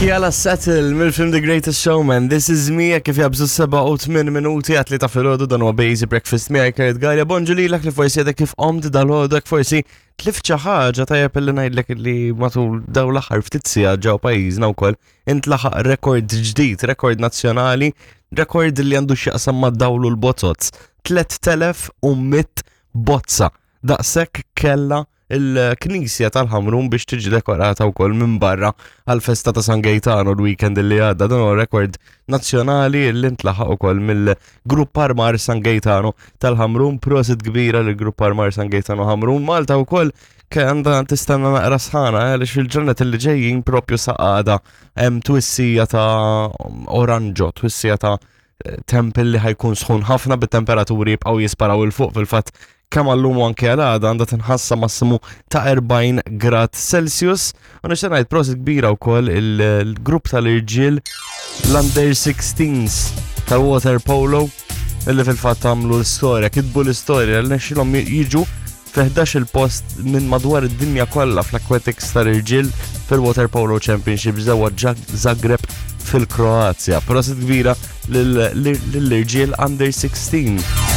Kiala Settle mill-film The Greatest Showman, This Is Me, kif jabżu 7 u 8 minuti għat li ta' filgħodu dan huwa Bazy Breakfast miegħi Kurt Gallia. Bonġu lilek li forsi għadek kif qomt dal-għodu forsi tlift xi ħaġa tajjeb li ngħidlek li matul daw l-aħħar ftit sigħat ġew pajjiżna wkoll intlaħaq rekord ġdid, rekord nazzjonali, rekord li għandu x'jaqsam mad-dawl u l-bozoz. 3100 bozza. Daqshekk kella il-Knisja tal-Ħamrun biex tiġi dekorata wkoll minn barra għal-festa ta' San Gaetano l-weekend li għadda. Dan huwa rekord nazzjonali li ntlaħaq ukoll mill-Grupp Armar San Gaetano tal-Ħamrun. Prosit kbira lill-Grupp Armar San Gaetano Ħamrun. Malta wkoll għandha tistenna naqra sħana eh, għaliex fil-ġranet li ġejjin propju saqada hemm twissija ta' oranġo, twissija ta' temp li ħajkun sħun ħafna bit-temperaturi jibqgħu jisparaw il fuq fil-fatt kemm għallum u anke għal għada għandha tinħassa massimu ta' 40 grad Celsius. U nixtieq ngħid prosit kbira wkoll il-grupp tal-irġiel l-under 16s tal-water polo illi fil-fatt għamlu l-istorja, kitbu l-istorja li nexxilhom jiġu fi 11 il-post minn madwar id-dinja kollha fl-Aquatics tal-irġiel fil-Water Polo Championships ġewwa Zagreb fil-Kroazja. Prosit kbira lill-irġiel under 16.